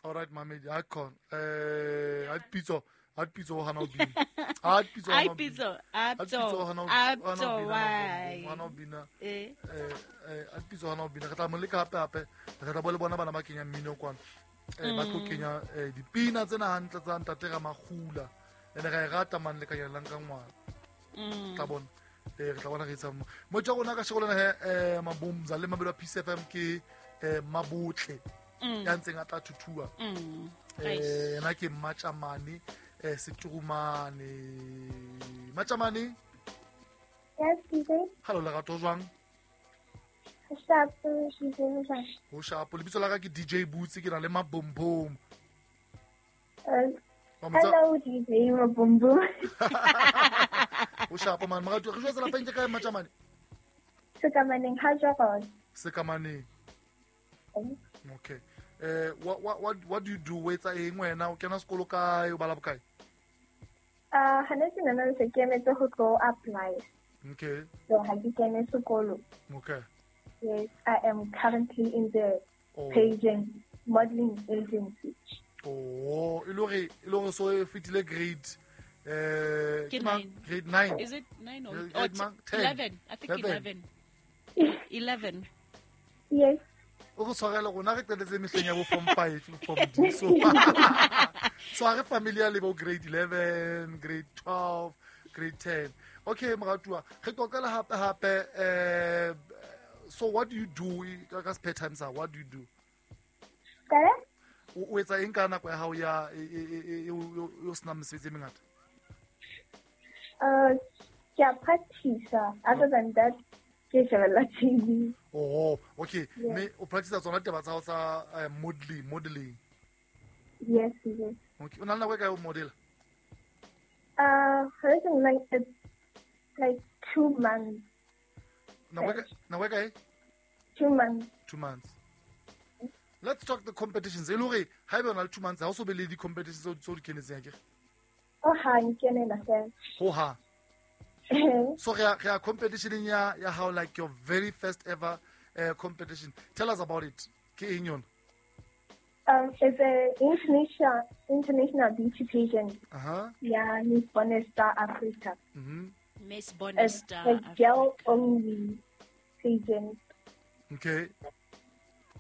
All right, mamedi, a khona. A pitso, a pitso hana o bina. A pitso Ai hana o bina. pitso, A pitso apto, hana o apto, bina. why? Hana o bina. Eh. A pitso hana o bina. Re tla mo leka hape hape. Re tla bo le bona bana ba kenya mmino kwana. Ba tlo kenya dipina tsena hantle tsa ntate Ramakgula. Ene ra e rata man le ka nyalang ka ngwana. Tla bona. Re tla bona re etsa mo. Mo tja rona ka sheko lena he Mabomza le Mabelo a Peace FM ke Mabotle. Ya ntseng a tla thuthua. Yena ke Matjamane, Seturumane. Matjamane? Yes, DJ. Hello, Lerato, jwang? Shapo, DJ, jwang? Ho shapo. Lebitso la ka ke DJ Boots, ke na le Mabombom. Hello, DJ Mabombom. Ho shapo, man. Moratuwa, re jwetsa lapeng ke kae, Matjamane? Sekamaneng, ha jwang? Sekamaneng. Okay. What do you do? O etsa eng wena? O kena sekolo kae? O bala bokae? Hana ke nana se ke emetse ho tlo apply. Okay. So ha ke kene sekolo. Okay. Yes, I am currently in the pageant modeling agency. Oh, e le hore so e fetile grade Ke 9. Grade 9. Is it 9 or Grade 10? 11? I think 11. 11. Yes. O re tshwarele rona re qetetse mehleng ya bo form 5, form D. So so ha re familiar le bo grade 11, grade 12, grade 10. Okay, moratuwa, re qoqela hape hape, so what do you do ka spare time sa? What do you do? Kae? O etsa eng ka nako ya hao ya o sena mesebetsi e mengata? Ke a practice. Other than that, ke shebella TV. Oh, okay. Yeah. Me o practice tsona taba tsa hao tsa modeling. Yes, yes. Okay. O na le nako e kae o modela? Like like 2 months. Nako e kae? 2 months. 2 months. Let's talk the competitions. E le hore haeba o na le 2 months ha o so be le di-competitions tseo di kenetseng akere? Oh, ha nkenela fela. Ho ha. So re a competition ya how like your very first ever competition. Tell us about it. Ke eng yona? It's an international beauty pageant. Uh-huh. Yeah, Miss Bonesta Africa. Mm-hmm. Miss Bonesta It's a girl only pageant. Okay.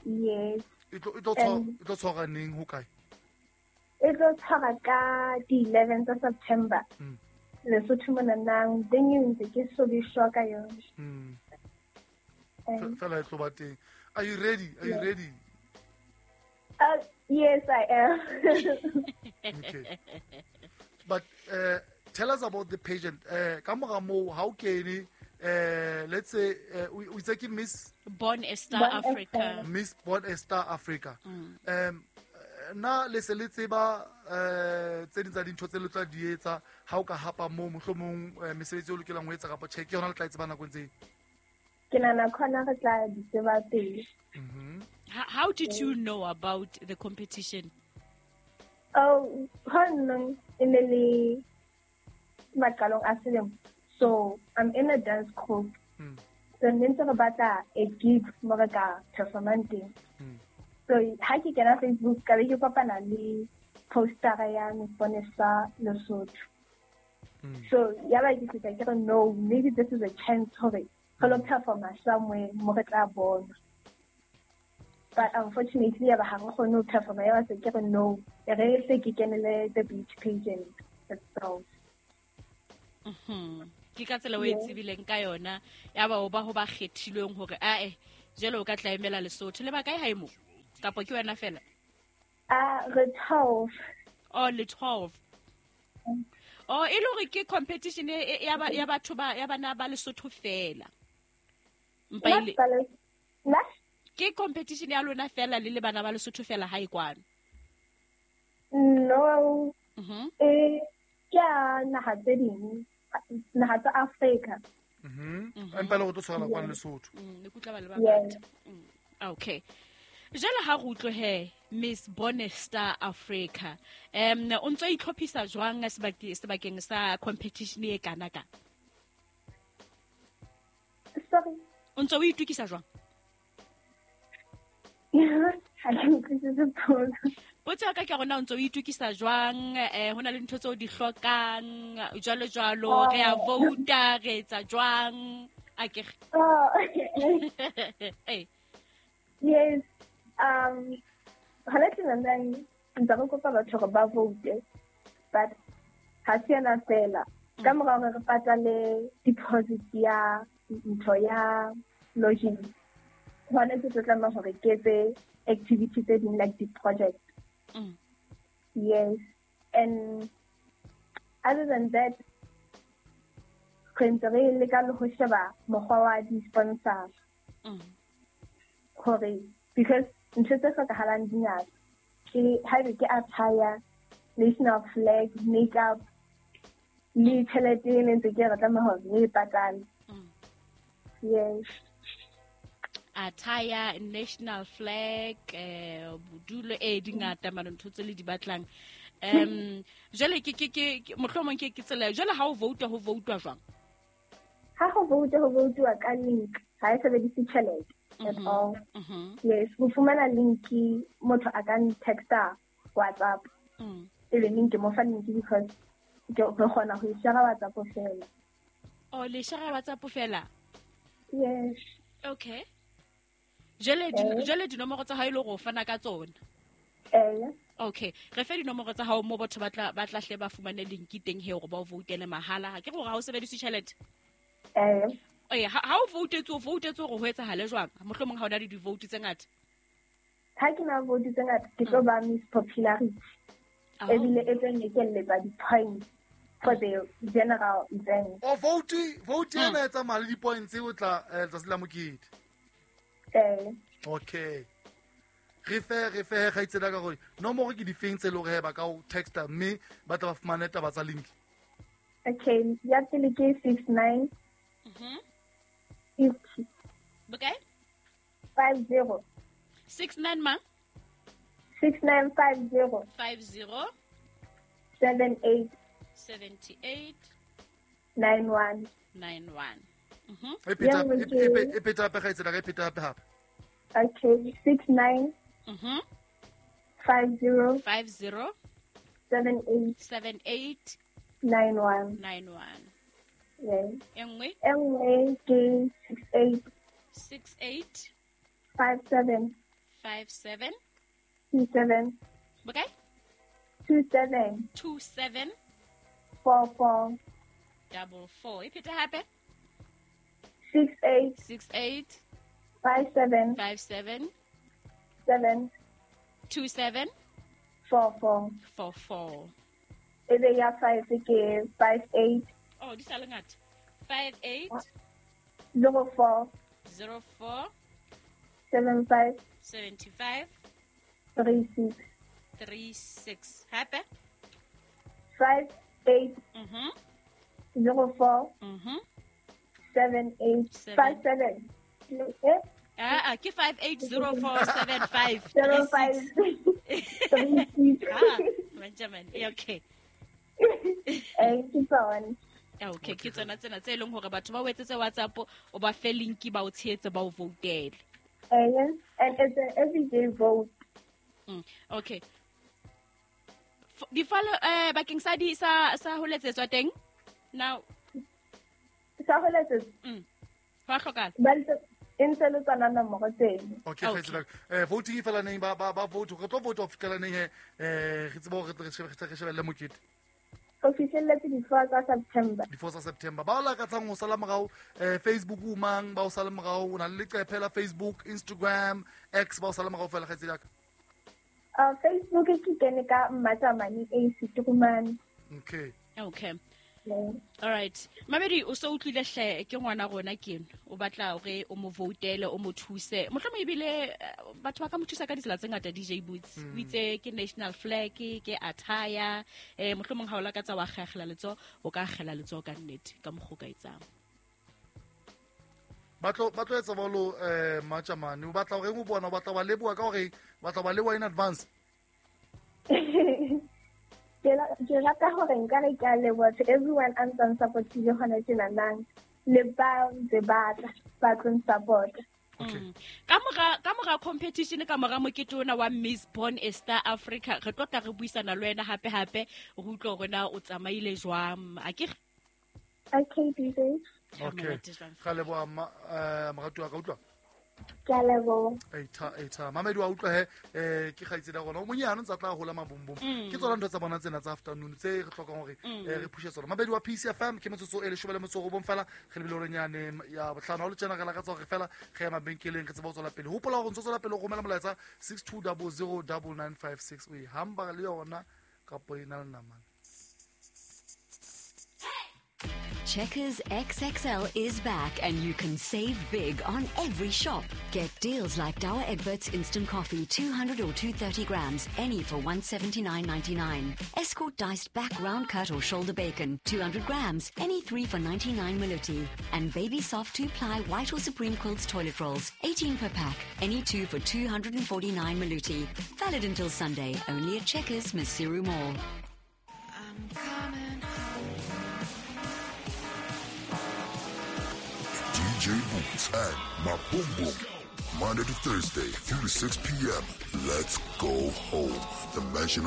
Yes. E tlo tshwara neng ho kae? E tlo tshwara ka di 11 tsa September. Lesotho mona nang then you ntse ke so be sure ka yona. Fela e tlo ba teng. Are you ready? Are you ready? Yes, I am. Okay. But tell us about the pageant. Ka mora moo ha o kene, let's say o itse ke Miss Born a Star Africa. Miss Born a Star Africa. Na le se le tseba tse ding tsa dintho tse le tla di etsa ha o ka hapa moo mohlomong mesebetsi o lokelang ho etsa kapa tjhe ke yona le tla e tseba nakong tse? Ke nahana khona re tla di tseba pele. How did you know about the competition? Oh, ha nna e ne le maqalong a selemo. So I'm in a dance group. So ne ntse re batla a gig mo re ka performang teng. So ha ke kena Facebook ka be ke kopana le postera ya Miss Bonesta Lesotho. So ya ba ke fihla ke re no, maybe this is a chance hore re lo performa somewhere mo re tla bona. But unfortunately ya ba ha re kgone ho performa, ya ba se ke re no, re se ke kenele the beauty pageant itself. Ke ka tsela o e tsebileng ka yona ya ba o ba ho ba kgethilweng hore ae jwale o ka tla emela Lesotho. Le ba kae hae mo? Kapa ke wena fela? Re 12. Oh, le 12. Oh, e le hore ke competition ya batho ba ya bana ba Lesotho fela. Mpa ile. Ke competition ya lona fela le le bana ba Lesotho fela hae kwano? No. Ke ya naha tse ding, naha tsa Africa. Empa le go tlo tshwara kwano Lesotho. Le kutla ba le bangata. Okay. Jwale ha re utlwe he Miss Bonesta Africa. O ntso itlhophisa jwang sebakeng sa competition e kana ka? Sorry. O ntso o itukisa jwang? Ha ke utlwisise potso. Potso ya ka ke rona o ntso o itukisa jwang, ho na le ntho tseo di hlokang jwalo jwalo, re a vouta, re etsa jwang, a ke Oh. Yes. Hona tjena ntse re kopa batho hore ba vote, but ha se yona fela. Ka mora hore re patale deposit ya ntho ya lodging, hona ke tlo tlameha hore ke etse activity tse ding like di-project. Yes. And other than that, re ntse re leka le ho sheba mokgwa wa di-sponsor. Hore because ntho tse hlokahalang di ngata. Ke haebe ke attire, national flag, makeup, le tjhelete e ne ntse ke re tlameha hore re e patale. Yes. Attire, national flag, bodulo di ngata mane ntho tse le di batlang. Jwale ke mohlomong ke tsela jwale ha o vouta, ho voutwa jwang? Ha ho vouta, ho voutwa ka link, ha e sebedise tjhelete at all. Yes, ho fumana link motho a ka texta WhatsApp. E be link mo fa link because ke re kgona ho e share WhatsApp fela. Oh, le share WhatsApp fela? Yes. Okay. Jwale dinomoro tsa hao e le hore o fana ka tsona? Okay. Re fe dinomoro tsa hao mo batho ba tla hle ba fumane link teng he hore ba o voutele mahala. Ha ke re hore ha o sebedise tjhelete? Ha o voutetse, o voutetse hore ho etsahale jwang? Mohlomong ha o na le di-vote tse ngata. Ha ke na vote tse ngata, ke tlo ba Miss Popularity. Ebile e tlo nyekelletsa di-points for the general event. O vote ena e tsamaya le di-points o tla letsatsi la mokete. Okay. Re fe kgaitsedi ka gore nomoro ke difeng tse le hore ba ka o texta mme ba tla ba fumane taba tsa link. Okay, ya pele ke 69 50. Bokae? 50. 69 mang? 6950. 50. 78. 78. 91. 91. E pheta hape kgaitsedi ka, e pheta hape. Okay, 69 50 50 78 78 91 91. Yes. E nngwe? E nngwe ke 68 68 57 57 27 Bokae? 27 27 44 44. E pheta hape? 68 68 57 57 7 27 44 44. E be ya 5 ke 58. Oh, di sa le ngata. 58 04 04 75 75 36 36. Hape? 58 04 78 57. Ke 580475 36. Ah, Benjamin. Okay. Ke tsona. Okay, ke tsona tsena tse leng hore batho ba o etsetse WhatsApp, o ba fe link ba o tshehetse, ba o voutele. Yes, and it's an everyday vote. Okay. Di follow bakeng sa di sa ho letsetswa teng? Now sa ho letsetswa. Ho hlokahala. Ba e ntse le tsona nomoro teng. Okay, kgaitsedi. Voting e fela neng ba vote, re tlo vote ho fihlela neng he, re tsebe hore re shebelle mokete. Ho fihlelletse di-4 tsa September. Di-4 tsa September. Ba o lakatsang ho sala morao, Facebook o mang, ba o sala morao, o na le leqephe la Facebook, Instagram, X, ba o sala morao fela kgaitsedi ya ka. Facebook ke kene ka Mmatsamane A Seturumane. Okay. Okay. All right. Mamedi, o so utlwile hle ke ngwana rona ke eno. O batla hore o mo voutele, o mo thuse. Mohlomong ebile batho ba ka mo thusa ka ditsela tse ngata DJ Boots. O itse ke national flag, ke attire, mohlomong ha o lakatsa wa kgela letsoho, o ka kgela letsoho ka nnete ka mokgwa o ka etsang. Ba tlo etsa bolo Mmatsamane. O batla hore o bona, o batla ba leboha ka hore batla ba leboha in advance. Ke rata hore nka re ke a leboha to everyone a ntsang support-ile hona tjenanang, le ba ntse ba tla ba tlo support. Okay. Ka mora competition, ka mora mokete ona wa Miss Born a Star Africa, re tlo tla re buisana le wena hape hape, re utlwe hore na o tsamaile jwang, a ke Okay, DJ. Okay. Monate jwang. Ga leboha morati wa ka, utlwa. Ke a leboha. Eita, eita, mamedi wa utlwa he, ke kgaitsedi ya rona o monyane, o ntse a tla hola mabombom. Ke tsona ntho tsa bona tsena tsa afternoon tse re tlhokang hore re phushe tsona. Mamedi wa PCFM, ke metsotso e 19 fela re lebile horenyane ya bohlano. Ha o le tjena, re lakatsa hore fela re ya mabenkeleng, re tsebe ho tswela pele. Hopola hore o ntso tswela pele ho romela molaetsa 62009956, o e hamba le yona kapo e na le namane. Checkers XXL is back and you can save big on every shop. Get deals like Douwe Egberts Instant Coffee 200 or 230 grams, any for 179.99. Escort diced back round cut or shoulder bacon, 200 grams, any three for 99 Maloti. And Baby Soft 2-ply white or Supreme Quilts toilet rolls, 18 per pack, any two for 249 Maloti. Valid until Sunday, only at Checkers, Maseru Mall. I'm coming home. DJ Boots and Maboom Boom. Monday to Thursday, 3 to 6 p.m. Let's go home. The Mansion.